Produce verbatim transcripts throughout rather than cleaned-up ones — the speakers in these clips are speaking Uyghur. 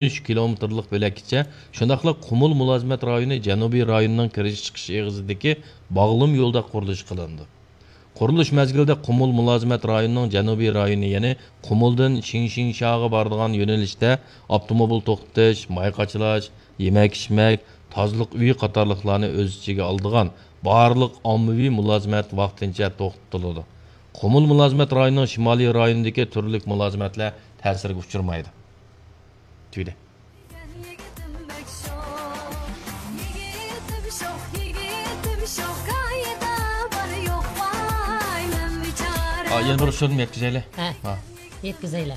ئۈچ كىلومېتىرلىق بۆلەككىچە، شۇنداقلا قۇمۇل مۇلازىمەت رايونى جەنۇبىي رايوننىڭ كىرىش چىقىش ئېغىزىدىكى باغلىما يولدا قۇرۇلۇش قىلىنىدۇ. قۇرۇلۇش مەزگىلىدە قۇمۇل مۇلازىمەت رايونىنىڭ جەنۇبىي رايونى، يەنى قۇمۇلدىن شىڭشىڭشاغا بارىدىغان يۆنىلىشتە ئاپتوموبىل توختىتىش، ماي قاچىلاش، يېمەك-ئىچمەك، تازىلىق ئۆيى قاتارلىقلارنى ئۆز ئىچىگە ئالىدىغان بارلىق ئاممىۋى مۇلازىمەت ۋاقتىنچە توختىتىلىدۇ. قۇمۇل مۇلازىمەت رايونىنىڭ شىمالىي رايونىدىكى تۈرلۈك مۇلازىمەتلەر تەسىرگە ئۇچرىمايدۇ. تۈگىدى. ئا، يەنە بىر ئۇچۇرنى يەتكۈزەيلى. ھە. ھە. يەتكۈزەيلى.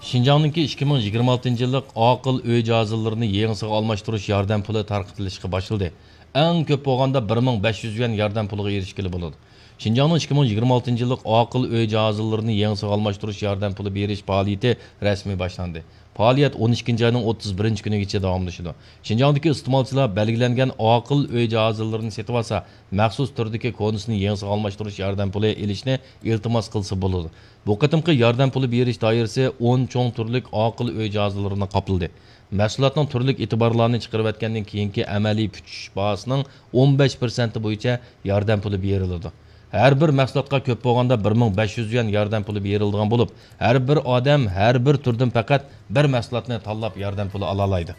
شىنجاڭنىڭكى ئىككى مىڭ يىگىرمە ئالتىنچى يىللىق ئاقىل ئۆي جاھازلىرىنى يېڭىسىغا ئالماشتۇرۇش ياردەم پۇلى تارقىتىلىشقا باشلىدى. ئەڭ كۆپ بولغاندا بىر مىڭ بەش يۈز يۈەن ياردەم پۇلىغا ئېرىشكىلى بولىدۇ. شىنجاڭنىڭ ئىككى مىڭ يىگىرمە ئالتىنچى يىللىق ئاقىل ئۆي جاھازلىرىنى يېڭىسىغا ئالماشتۇرۇش ياردەم پۇلى بېرىش پائالىيىتى رەسمىي باشلاندى. پائالىيەت ئون ئىككىنچى ئاينىڭ ئوتتۇز بىرىنچى كۈنىگىچە داۋاملىشىدۇ. شىنجاڭدىكى ئىستېمالچىلار بەلگىلەنگەن ئاقىل ئۆي جاھازلىرىنى سېتىۋالسا، مەخسۇس تۈردىكى كونىسىنى يېڭىسىغا ئالماشتۇرۇش ياردەم پۇلى ئېلىشنى ئىلتىماس قىلسا بولىدۇ. بۇ قېتىمقى ياردەم پۇلى بېرىش دائىرىسى ئون چوڭ تۈرلۈك ئاقىل ئۆي جاھازلىرىنى قاپلىدى. مەھسۇلاتنىڭ تۈرلۈك ئېتىبارلارنى چىقىرىۋەتكەندىن كېيىنكى ئەمەلىي پۈتۈش باھاسىنىڭ ئون بەش پىرسەنتى بويىچە ياردەم پۇلى بېرىلىدۇ. ھەر بىر مەھسۇلاتقا كۆپ بولغاندا بىر مىڭ بەش يۈز يۈەن ياردەم پۇلى بېرىلىدىغان بولۇپ، ھەر بىر ئادەم ھەر بىر تۈردىن پەقەت بىر مەھسۇلاتنى تاللاپ ياردەم پۇلى ئالالايدۇ.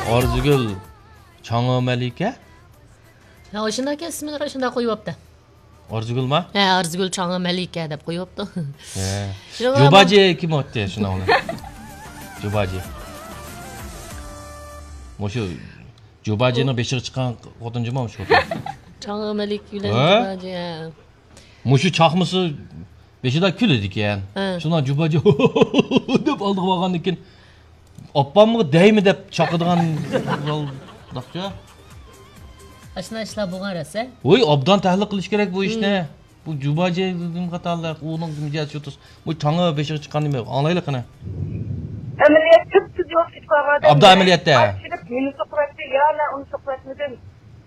ئارزۇگۈل چاڭا مەلىكە؟ ھە، شۇنداككەن، ئىسمىنى شۇنداق قويۇۋاپتۇ. ئارزۇگۈلما؟ ھە، ئارزۇگۈل چاڭا مەلىكە دەپ قويۇپتۇ. ھە. شۇنىڭغا جۇباجى كىم ئوتتى شۇنىڭ بىلەن؟ جۇباجى. مۇشۇ جۇباجىنىڭ بېشىغا چىققان خوتۇن جۇما مۇشۇ خوتۇن. چاڭا مەلىكە بىلەن ھە؟ جۇباجى، ھە. مۇشۇ چاقمىسا بېشىدا كۈلىدىكەن. ھە. شۇنىڭ جۇباجى دەپ ئالدىغا بارغاندىن كېيىن ئاپامغا دەيمە دەپ چاقىدىغان زالداقچە. ئاشۇنداق ئىشلار بولغان رەسە. ۋوي، ئوبدان تەھلىل قىلىش كېرەك بۇ ئىشنى. بۇ جۇباجى قاتارلىق، ئۇنىڭ مىجەزى شۇ تۇس. بۇ چاڭا بېشىغا چىققان نېمە؟ ئاڭلايلى قېنى. ئەمەلىيەت تۈپتۈز يول كېتىپ قالغان ئابدا ئادەم ئەمەلىيەتتە. ئاچچىقىپ مېنى سوقۇۋەتتى يا مەن ئۇنى سوقۇۋەتمىدىم.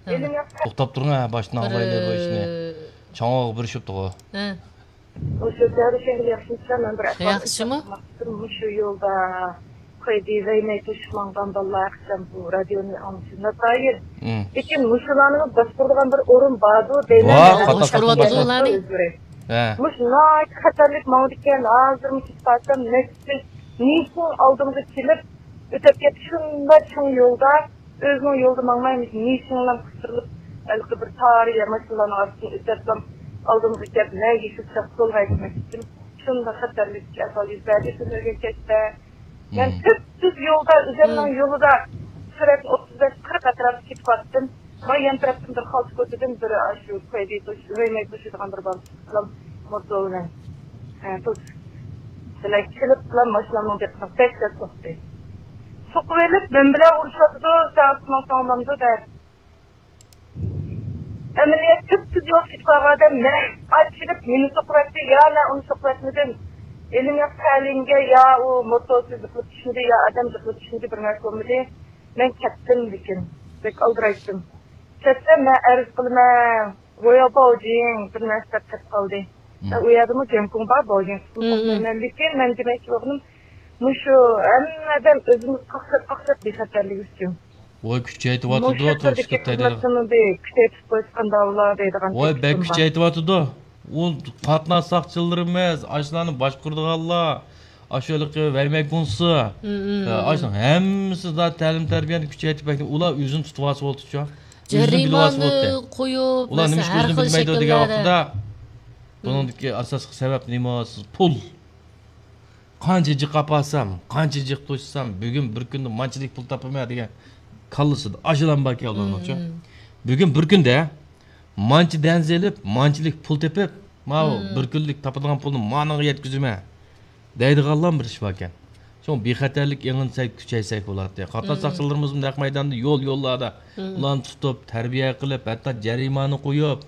ھە. ئېلىڭ ياققا توختاپ تۇرۇڭ ھە، باشتىن ئاڭلايلى بۇ ئىشنى. بىر چاڭاغا بېرىشىپتىغۇ. ھە. ئۇ شۆھرەت شەھىرى ياخشىمۇسىلەر؟ مەن بىر ئەھۋال ياخشىمۇ؟ ئېيتماقچىدىم. مۇشۇ يولدا قويدى، ۋەيمەي توشۇپ ماڭغان بالىلار ھەقسەم بۇ رادىيونى ئاڭلىشىمدا دائىر. مم. لېكىن مۇشۇلارنىمۇ باشقۇرىدىغان بىر ئورۇن باردۇ دەيمەن. ۋاھ، مەن قاتتىق باشقۇرۇۋاتىدۇ ئۇلارنى. ھە. مۇشۇ ناھايىتى خەتەرلىك ماڭىدىكەن. ھازىرمۇ كېتىپ قالسام نەچچە نىشان ئالدىمغا كېلىپ ئۆتۈپ كەتتى. شۇنداق چوڭ يولدا ئۆزىنىڭ يولىدا ماڭماي، نىشانلار قىستۇرۇلۇپ، ھېلىقى بىر تارىيە ماشىنىلارنىڭ ئارىسىدىن ئۆتۈپلا ئالدىمغا كەپ، مەن يېشىل چاققۇل ھەيدىمەكچىدىم. شۇنداق خەتەرلىك ئەھۋال يۈز بەردى تۈنۈگۈن كەچتە. مەن مم. تۈپتۈز يولدا، ئۆزۈمنىڭ مم. يولىدا سۈرئەتنى ئوتتۇز بەش، قىرىق ئەتراپىدا كېتىۋاتتىم. مانا يان تەرەپتىن بىر خالتا كوچىدىن بىر ئاشۇ كويدى توش-، ۋەيمەي توشىدىغان بىر بالىسى بىلەن موتو بىلەن، ئە، توس-، بىلەن كېلىپلا ماشىنامنىڭ دىققىتىنى بەك سەت سوقتى. سوقۇۋېلىپ، مەن بىلەن ئۇرۇشۇۋاتىدۇ، ساڭا ساڭا ساڭلامدۇ دەپ. ئەمەلىيەت تۈپتۈز يول كېتىپ قالغان ئادەم مەن ئاچىلىپ مېنى سوقۇۋەتتى يا مەن ئۇنى سوقۇۋەتمىدىم. ئېلىم ياق تەلىيىمگە يا ئۇ موتور جىقىلىپ چۈشمىدى يا ئادەم جىقىلىپ چۈشمىدى، بىر نەرسە بولمىدى. مەن كەتتىم، لېكىن بەك ئالدىرايتتىم. كەتسەم مەن ئەرز قىلىمەن، ۋويا باۋجىڭ بىر نەرسە دەپ كەتتى قالدى. مم. ئۇ يەردىمۇ جيەنكۇڭ بار، باۋجىڭ. مم، مم. لېكىن مەن دېمەكچى بولغىنىم، مۇشۇ ھەممە ئادەم ئۆزىمىز قاقشاپ، قاقشاپ بىخەتەرلىكى ئۈچۈن. ۋاي، كۈچەيتىۋاتىدۇ، مۇشۇ تۈردىكى تۇرۇشلۇق تەدبىر. خىزمەتلىرنى بىر كۈچەيتىپ قويسىغان داۋلا دەيدىغان ۋاي، بەك تەكلىپىم بار. كۈچەيتىۋاتىدۇ. ئۇ قاتناش ساقچىلىرىمىز، ئاشۇلارنى باشقۇرىدىغانلار، ئاشۇ ھېلىقى ۋەيمەيگۇنسى، مم، مم، ئاشۇنىڭ ھەممىسى زادى تەلىم تەربىيەنى كۈچەيتىپ بەك، ئۇلار ئۆزىنى تۇتۇۋالسا بولدىچۇ. ئۆزىنى بىلىۋالسا بولدى. جەرىمانە قويۇپ، ئۇلار مەسىلەن، نېمە ئىش ھەر كۆزىنى خىل بىلمەيدۇ دېگەن شەكىللەردە. ۋاقتىدا، مم. بۇنىڭدىكى ئاساسلىق سەۋەب نېمە؟ سىز پۇل. قانچە جىق ئاپارسام، قانچە جىق توشسام، بۈگۈن بىر كۈندە مانچىلىك پۇل تاپىمەن دېگەن كاللىسىدا ئاشۇلام باركەن ئۇلارنىڭچۇ. مم. بۈگۈن بىر كۈندە مانچە دەنزە ئېلىپ، مانچىلىك پۇل تېپىپ، ماۋۇ مم. بىر كۈنلۈك تاپىدىغان پۇلنى مانىڭغا يەتكۈزىمەن دەيدىغانلام بىر ئىش باركەن. شۇڭا بىخەتەرلىك ئېڭىنى سەل كۈچەيسەك بولاتتى. قاتناش مم. ساقچىلىرىمىزمۇ نەق مەيداندا يول، يوللاردا مم. ئۇلارنى تۇتۇپ، تەربىيە قىلىپ، ھەتتا جەرىمانە قويۇپ،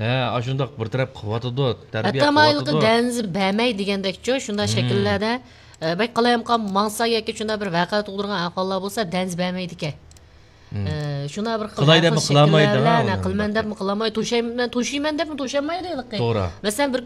ھە، ئاشۇنداق بىر تەرەپ قىلىۋاتىدۇ، تەربىيە ھەتتا مايىلقى قىلىۋاتىدۇ. دەنزە بەرمەي دېگەندەكچۇ، شۇنداق مم. شەكىللەردە، ئە، بەك قالايمىقان ماڭسا ياكى شۇنداق بىر ۋەقە تۇغدۇرغان ئەھۋاللار بولسا دەنزە بەرمەيدىكەن. مم. ئە، شۇنداق بىر خىل قىلاي دەپمۇ قىلالمايدۇ، ھە، قىلمەن دەپمۇ قىلالمايدۇ، توشايمەن، توشۇيمەن دەپمۇ توشالمايدۇ ھېلىقى. توغرا. مەسىلەن، بىر